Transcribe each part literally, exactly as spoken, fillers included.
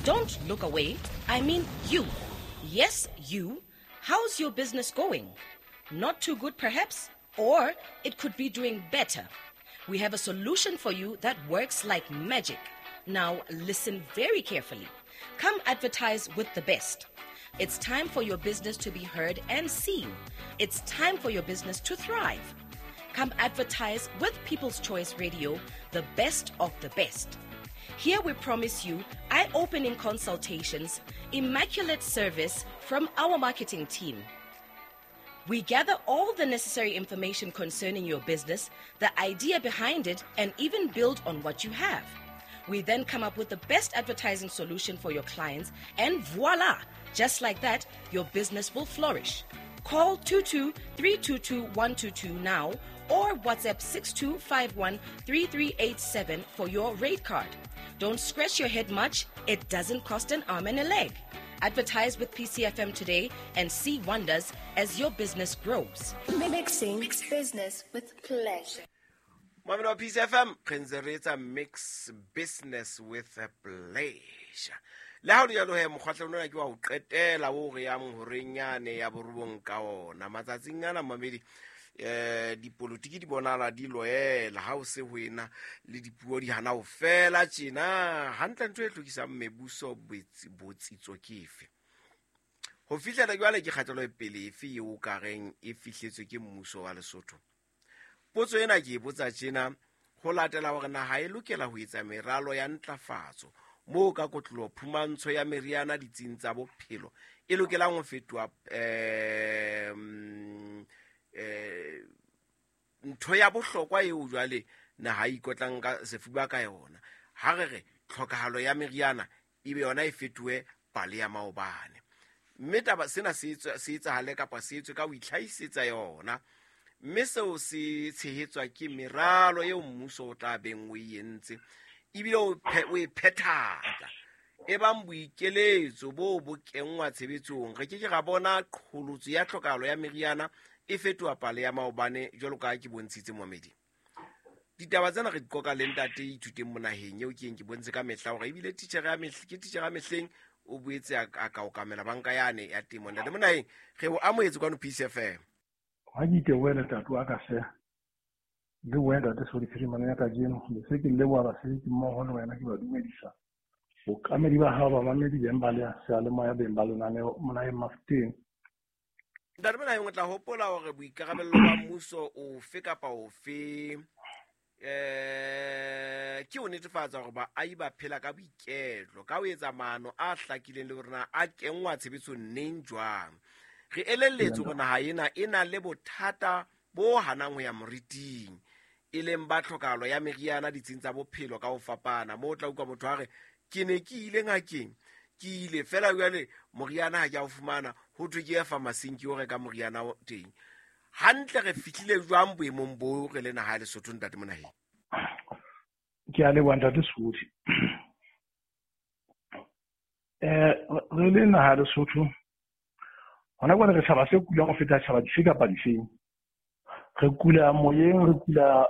Don't look away. I mean you. Yes, you. How's your business going? Not too good, perhaps? Or it could be doing better. We have a solution for you that works like magic. Now, listen very carefully. Come advertise with the best. It's time for your business to be heard and seen. It's time for your business to thrive. Come advertise with People's Choice Radio, the best of the best. Here we promise you eye-opening consultations, immaculate service from our marketing team. We gather all the necessary information concerning your business, the idea behind it, and even build on what you have. We then come up with the best advertising solution for your clients, and voila! Just like that, your business will flourish. Call two two three two two one two two now or WhatsApp six two five one three three eight seven for your rate card. Don't scratch your head much. It doesn't cost an arm and a leg. Advertise with P C F M today and see wonders as your business grows. Mixing business with pleasure. Mamelo P C F M, re ntse re etsa mix business with pleasure. Le ha o le jwalo he, mokgwahlelo ona ke wa ho qetela o re yang horeng yane ya borobong ka ona. Matsatsing ana mamedi, eh, dipolotiki di bonahala di loela ha o se ho ena le dipuo di hana ho fela tjena. Hantle ntho e hlokisang mebuso botsitso ke efe? Ho fihlela jwale ke kgatello e pele efe eo o ka reng e fihletswe ke mmuso wa Lesotho? Potso ena ke e botsa tjena ho latela hore naha e lokela ho etsa meralo ya ntlafatso moo ka kotloloho phumantsho ya meriana ditsing tsa bophelo e lokelang ho fetoha, eh, eh, ntho ya bohlokwa eo jwale naha e ikotlang ka sefuba ka yona. Ha re re tlhokahalo ya meriana ebe yona e fetohe pale ya maobane. Mme taba sena se etswa, se etsahale kapa se etswe ka ho itlhahisetsa yona. Mme seo se tshehetswa ke meralo eo mmuso o tla beng o e entse, ebile o phe-, o e phethatsa. Ebang boikeletso bo bo kenngwa tshebetsong, re ke ke ra bona qholotso ya tlhokahalo ya meriana e fetoha pale ya maobane jwalo ka ha ke bontshitse momedi. Ditaba tsena re di qoqa le ntate Ithuteng Monaheng eo ke eng ke bontshe ka mehla hore ebile titjhere ya mehl-, ke titjhere ya mehleng, o boetse a, a ka okamela banka yane ya temo. Ntate Monaheng, re o amohetse kwano P C F M. Ha ke itebohela ntate wa ka hle, le wena ntate Sodi Phirimana ya kajeno, le se ke leboha basebetsi mmoho le wena, ke ba dumedisa. Bookamedi ba hao, bamamedi beng ba le seyalemoya beng ba lenaneo Monaheng Mafuteng. Ntate Monaheng, o tla hopola hore boikarabello ba mmuso ofe kapa ofe, eh, ke ho netefatsa hore baahi ba phela ka boiketlo, ka ho etsa maano a hlakileng le hore na a kenngwa tshebetsong neng jwang. Re elelletswe hore naha ena e na le bothata bo hanang ho ya moriting, e leng ba tlhokahalo ya meriana ditsing tsa bophelo ka ho fapana. Moo o tla utlwa motho a re, ke ne ke ile ngakeng, ke ile fela jwale moriana ha ke a o fumana, ho thwe ke ye pharmacy-ing ke yo reka moriana o teng. Hantle re fihlile jwang boemong bo re le naha ya Lesotho, ntate Monaheng? Ke a leboha ntate Sodi. Eh, re le naha ya Lesotho, hona jwale re tshaba se kulang ho feta tjhaba dife kapa difeng. Re kula moyeng, re kula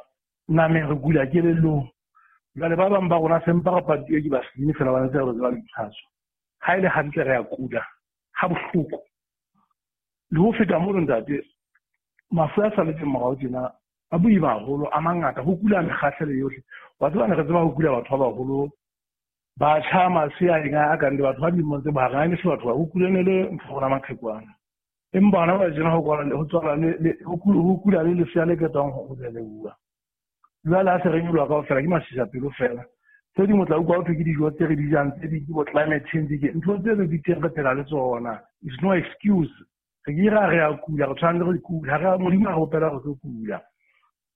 nameng, re kula kelellong. Jwale ba bang ba rona se mpa re patuwe ke basenyi fela ba ntse re tseba ditlhaso. Ha e le hantle re a kula ha bohloko. Le ho feta mono ntate, mafu a saletseng morao tjena a boima haholo, a mangata, ho kula mekgahlelo yohle. Wa tseba ne re tseba ho kula batho ba baholo, batjha, masea, eng a kang le batho ba dilemong tse bohareng, ha e ne se batho ba, ho kula ne le ntho rona maqhekwana. Empa hona jwale tjena ho kwala le, ho tswala le, le, ho kula, ho kula le lesea le qetang ho belehuwa. Jwale ha se re nyoloha kaofela ke masisapelo fela. Tse ding o tla utlwa ho thwe ke dijo tse re di jang, tse ding ke bo climate change, ke ntho tse re di teng re phela le tsona. It's no excuse. Re ke ra re a kula, re tshwanetse re kula. Ha re a Modimo a re opela re tlo kula.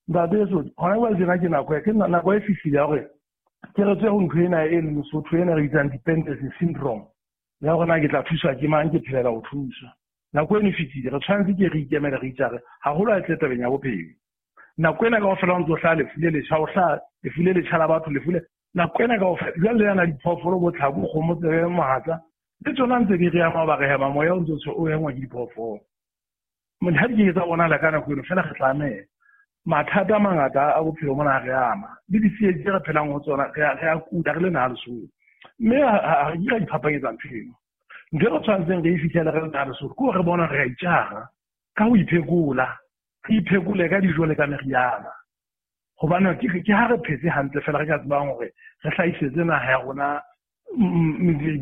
Ntate Sodi, hona jwale tjena ke nako ya, ke nako e fihlile ya hore ke re tswe ho ntho ena e leng Lesotho ena re bitsang dependency syndrome. Ya hore na ke tla thuswa ke mang, ke phelela ho thuswa. Nako eno e fetile, re tshwanetse ke re ikemele re itjare, haholo ha e tle tabeng ya bophelo. Nako ena kaofela ho ntso hlaha lefu le letjha, ho hlaha lefu le letjha la batho, lefu le nako ena kaofela. Jwale le yana diphoofolo bo tlhako, kgomo, tsebe, mohatla, le tsona ntse di re ama, ba re hema moya o ntso o engwa ke diphoofolo. Mone ha di ke tsa bonahala ka nako eno, fela re tlameha. Mathata a mangata a bophelo mona re ama. Le ditsietsi tse re phelang ho tsona, re a, re a kula, re le naha Lesotho. Mme ha re ka iphapanyetsa ntho eno. Ntho e re tshwanetseng re e fihlele re le naha Lesotho ke hore re bona re a itjara ka ho iphekola, re iphekole ka dijo le ka meriana. Hobane ke ke ha re phetse hantle fela re ka tsebang hore re hlahisetse naha ya rona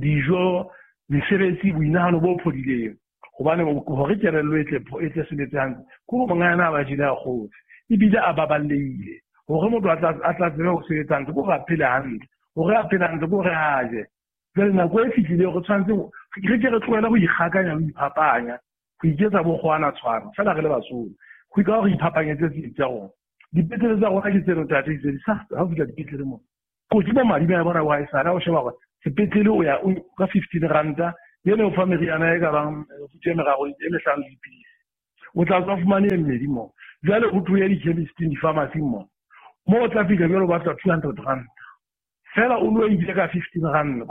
dijo, mesebetsi, boinahano bo phodileng. Hobane hore kelello e tle e tle sebetse hantle ke hore mongana a ba jele a kgotse ebile a baballehile. Hore motho a tla a tla tsebe ho sebetsa hantle ke hore a phele hantle, hore a phele hantle ke hore a je. Jwale nako e fihlile re tshwanetse re ke re tlohele ho ikgakanya le ho iphapanya, ho iketsa bo kgowana tshwana fela re le Basotho. Ho ka hore re iphapanyetse tse tsa rona. Dipetlele tsa rona ke tseno ntate di sa ha o fihla dipetlele mo. Kotsi bo madi ba bona wa haesale ha o sheba hore sepetlele o ya ka fifteen ranta ene o fa meriana e ka bang mefuta e meraro e mehlano le dipidisi. O tla tswa fumane e mmedi moo. Jwale ho thuwe di-chemist-ing, di-pharmacy-ing moo. Moo o tla fihla jwale o batla two hundred rand. Fela o lo ile ka fifteen rand.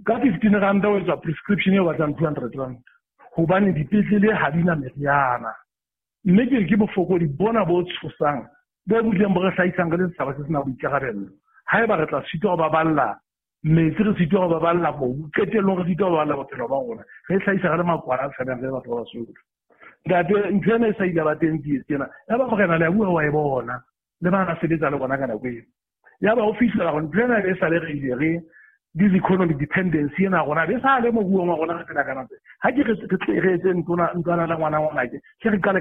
Ka fifteen rand o etsa prescription e batlang two hundred rand. Hobane dipetlele ha di na meriana. Mme ke ke bofokodi bona bo tshosang bo butleng bo re hlahisang re le setjhaba se sena boikarabello. Haeba re tla sitwa ho baballa metsi, re sitwa ho baballa mobu, qetellong re sitwa ho baballa bophelo ba rona, re hlahisa re le makwala a tshabehang re le batho ba Basotho. Ntate, ntho ena e sa ile ba teng tsietsi ena. Ya ba morena le a bua wa e bona, le ba na sebetsa le bona ka nako eo. Ya ba o fihlela hore ntho ena e sa le re ile re this economic dependency ena rona be sa le moruong wa rona re phela ka nako. Ha ke re re etse ntlwana ntlwana le ngwana ngwanake, ke re qale